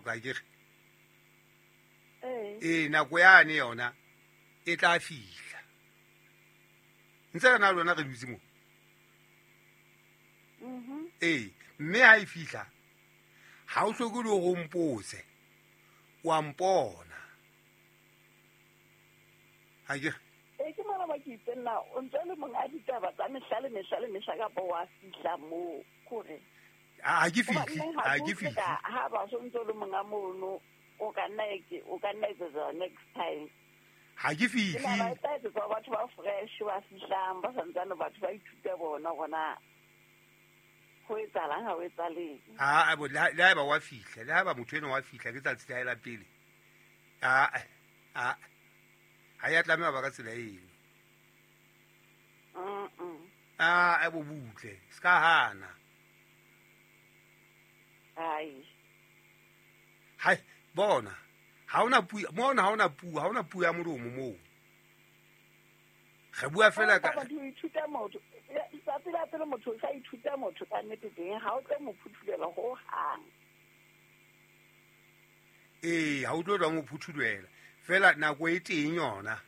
qoqa ke re. Ee, nako yane yona e tla fihla. Ntse re na le lona re dutse mo. Ee, mme ha e fihla ha o hloke le hore o mpotse, wa mpona. Ha ke re? Ee, ke mona ba ke itse nna o ntse le monga ditaba tsa mehla le mehla le mehla kapa wa fihla moo kore. Ha ke fihle, ha ke fihle. Ha ba so ntse le monga mono, o ka nna o ka nna etsetsa next time. Ha ke fihle. Ke na ba etsetsa batho ba fresh ba fihlang ba santsane batho ba ithuta bona gona. Ho etsahalang ha ho etsahaleng. Ha bo le haeba wa fihla, le haeba motho ena wa fihla ke tsatsi la hae la pele. A a ha ya tlameha ba ka tsela eno. A bo butle, ska hana. Ai. Hai, bona. Ha ona puo, mona ha ona puo, ha ona puo ya molomo moo. Re bua fela ka batho ithuta motho. Tsatsi la pele motho o sa ithuta motho ka nnete teng, ha o tlo mo phuthulela ho hang. Ee, ha o tlo tla mo phuthulela. Fela nako e teng yona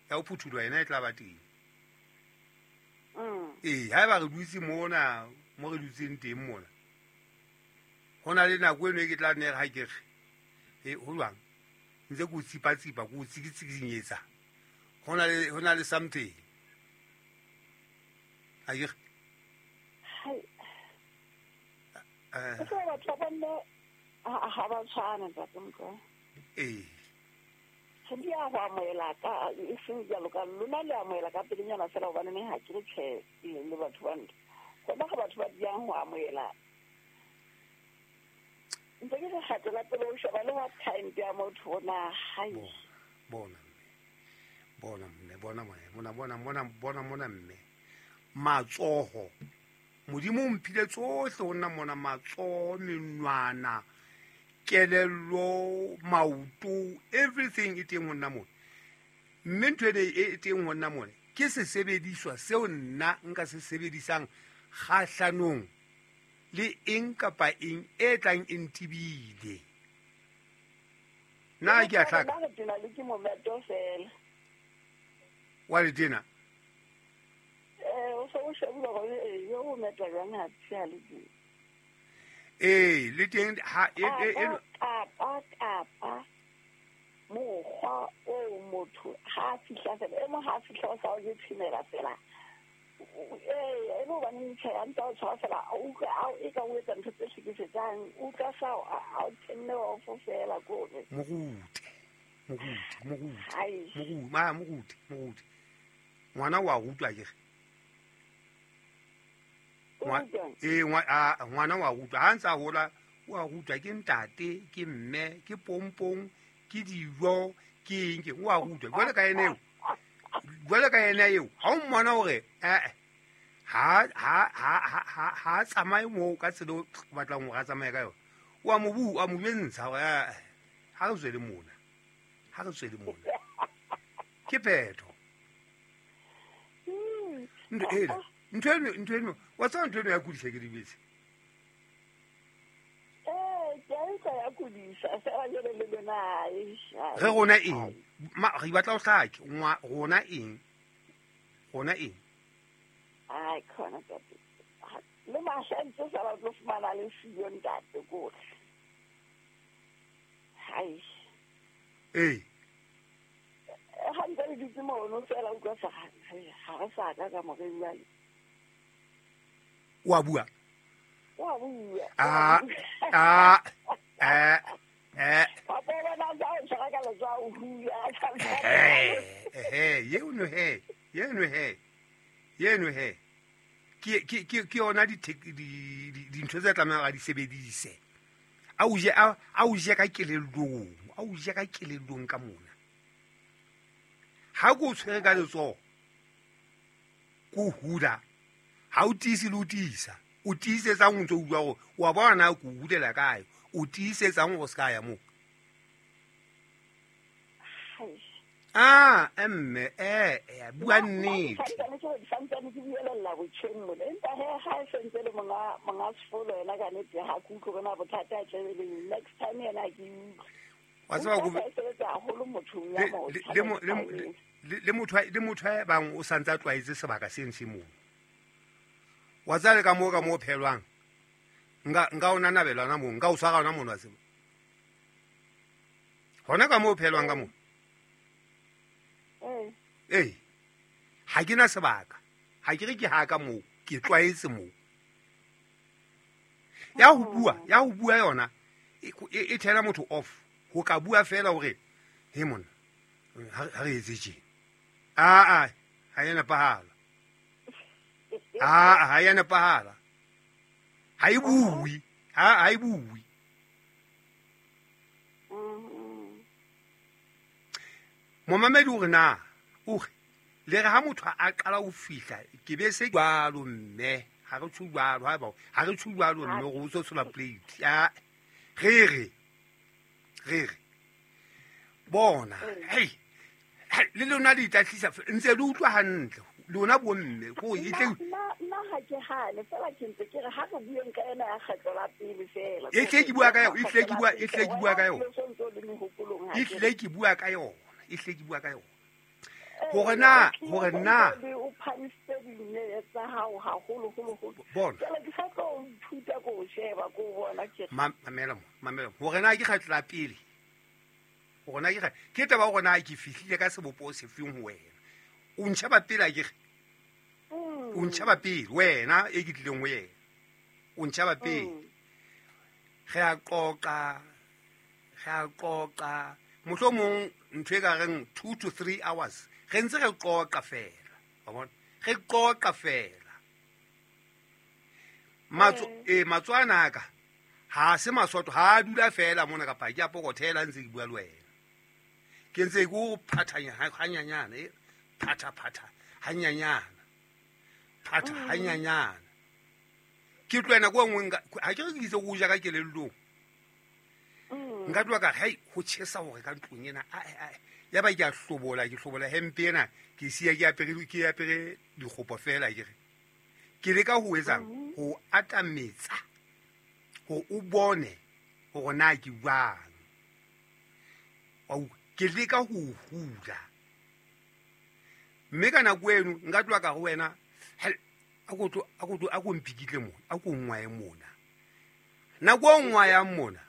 ya ho phuthulwa yena e tla ba teng. Ee, haeba re dutse mona mo re dutseng teng mona, ho na le nako eno e ke tla nne ha ke re e ho jwang, ntse ke o tsipa-tsipa, ke o tsikitsikinyetsa. Ho na le something. Ha ke re? Hai. Ke batho ba bomme ha ba tshwane, ntate Mokoena. Ee. Re di a go amohela ka e seng jalo ka lona le amohela ka pelenyana fela hobane ne ha ke re tjhe le batho ba ntho. Hona ga batho ba diang ho amohela. Ntse ke re kgatela pele o sheba le what kind ya motho ona hai. Bona bona mme, bona mona, bona mona, bona mona mme. Matsoho. Modimo o mphile tsohle ho nna mona, matsoho, menwana, kelello, maoto, everything e teng ho nna mona. Mme ntho ena e teng ho nna mona ke sesebediswa seo nna nka se sebedisang kgahlanong le eng kapa eng e tlang e ntibile. Nna ke a hlaka. Nna re tena le ke mometo fela. Wa le tena? O se o shebile hore yo o meta jwang ha tshia le teng. Ee, le teng ha e kapa mokgwa o motho ha fihla fela, e mo ha fihla o sa o je tshimela fela. Ee, e le hobane tjhe ya ntsa o tshwara fela, o utlwa a e ka o etsa ntho tse hlekefetsang, o utlwa sa a o tenne off fela kore. Moruti. Ngwana wa rutwa ke re. Ngwana wa rutwa ha ntsa hola, wa rutwa ke ntate, ke mme, ke pompong, ke dijo, ke eng ke wa rutwa. Jwale ka ena eo. Jwale ka ena eo, ha o mmona hore ha tsamaye moo ka tsela o batlang hore a tsamaye ka yona. Wa mo bua, wa mo jwentsha hore ha re tswele mona. Ha re tswele mona. Ke phetho. Ntho eno, wa tseba ntho eno ya kudisa ke dibetse. Ke a utlwa ya kudisa, fela jwale le lona Re rona eng? Re batla ho hlake, rona eng? Rona eng? Ai, khona ntate. Le mahla ntse sa ba tlo fumana le siyo ntate kore. Hai. Ee. Ha ntse le dutse mono fela utlwa sa ha re sa ka ka more jwale. Wa bua? Wa bua. Papa bona tsa o tshwara ka letsoho o hula. Yeno he. Ke yona dintho tse tlamehang a di sebedise. A o je ka kelellong, a o je ka kelellong ka mona. Ha ko tshwere ka letsoho, ko hula, ha o tiise le o tiisa. O tiisetsang o ntso utlwa hore wa bona na ko hulela kae, o tiisetsang hore se ka ya moo. Ah, mme bua nnete. Santsane ke buelella botjheng mona. Empa he ha e sentse le monga sefolo yena ka nnete ha ke utlwe bona bothata a tlebe le next time yena ke utlwe. Wa tseba go sebetsa haholo mothong ya motho. Le motho e bang o santse a tlwaetse sebaka seng se moo. Wa tsale ka moo phelwang. Nka ona nabelwana moo, nka o tshwara ona mono wa tseba. Hona ka moo phelwang ka moo. Ee, ha ke na sebaka. Ha ke re ke ha ka moo, ke tlwaetse moo. Ya ho bua yona e thela motho off. Ho ka bua fela hore he mona ha re etse tje. A ha ya nepahala. A ha ya nepahala. Ha e bue, ha e bue. Momamedi o re na o re le re ha motho a qala ho fihla ke be se jwalo mme ha re tsho jwalo ha ba ha re tsho jwalo mme go tso tshola plate ya re re bona hey le lona di tlatlisa ntse le utlwa hantle lona bo mme go e tle nna ha ke hane fela ke ntse ke re ha re bueng ka ena ya kgetlo la pele fela e tle ke bua ka yona e tle ke bua ka yona e tle ke bua ka yona hore na o phamise dinne tsa hao haholo holo holo bona ke sa tlo ithuta go sheba go bona ke mamela hore na ke kgetlo la pele hore na ke taba hore na ke fihlile ka sebopo se feng ho wena o ntshaba pele a ke o ntshaba pele wena e ke tlileng ho yena o ntshaba pele re a qoqa mohlomong ntho e ka reng 2 to 3 hours re ntse re qoqa fela wa bona re qoqa fela matswana ka ha se masotho ha dula fela mona kapa ke a pokothela ntse ke bua le wena ke ntse ke o phathanya hanyanyana phatha hanyanyana phatha hanyanyana ke tlwena go nngwe ha ke re ke itse go ja ka kelellong nka tloha ka hei ho tjhesa hore ka ntlong ena ya ba ke a hlobola ke hlobola hempe ena ke siya ke apere dikgopo fela ke re ke leka ho etsang ho atametsa hore o bone hore na ke jwang ke leka ho hula mme ka nako eno nka tloha ka ho wena a ko mpikitle mona a ko ngwaye mona nako e ngwayang mona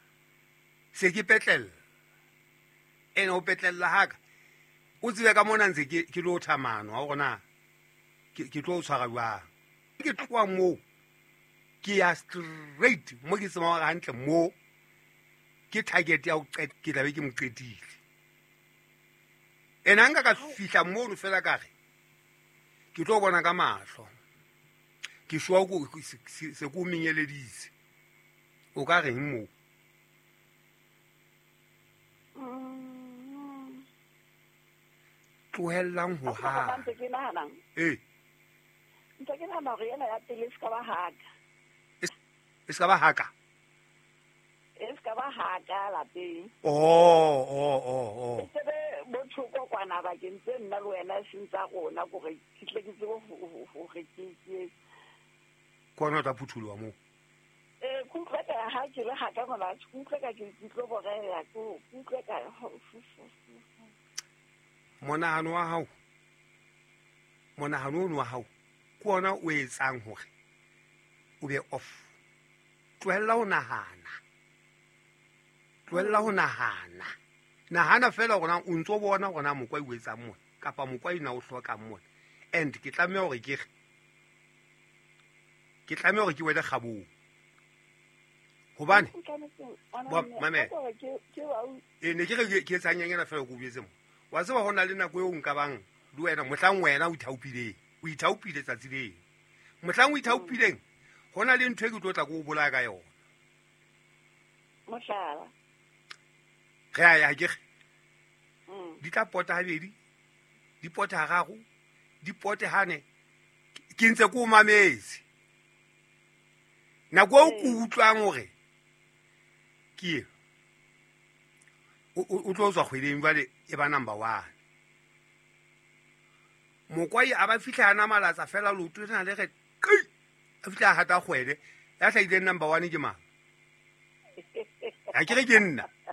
se ke petlella ene o petlella haka o tsebe ka mona ntse ke lo thamano ha hore na ke tlo tshwara jwang ke tloha moo ke ya straight mo ke tsebang hore hantle mo ke target ya ho qeta ke tlabe ke mo qetile ene ha nka ka fihla mono fela ka re ke tlo bona ka mahlo ke shwa se ko menyeleditse o ka reng moo tlohellang ho ha ntse ke nahanang ntse ke nahana hore ena ya pele e se ka ba haka e se ka ba haka e se ka ba haka lapeng oh e sebe bothoko kwana bakeng tse nna le wena e seng tsa rona kore ke tle ke tsebe hore ke kwana o tla phuthuloha moo ke utlwa ka ha ke le haka mona ke utlwa ka ke tlo boreya ke utlwa ka monahano wa hao monahano ono wa hao ke ona o etsang hore o be off tlohella ho nahana nahana fela hore na o ntso bona hore na mokwa o etsang mona kapa mokwa ena o hlokang mona and ke tlameha hore ke tlameha hore ke wele kgabong hobane mame ne ke re ke etsang nyanyana fela ko buetse mo wa tseba ho na le nako eo nka bang le wena mohlang wena o ithaopile tsatsi leo mohlang o ithaopileng ho na le ntho e ke tlo tla ko o bolaya ka yona mohlala re a ya ke re di tla pota habedi di pote hararo di pote hane ke ntse ko o mametse nako eo ke utlwang hore ke o tlo tswa kgweding jwale e ba number 1 Mokwai a ba fitlha a namalatsa fela leoto lena le re qi, a fitlha a gata kgwele. Ya hlahileng number one ke mang? Ha ke re ke nna.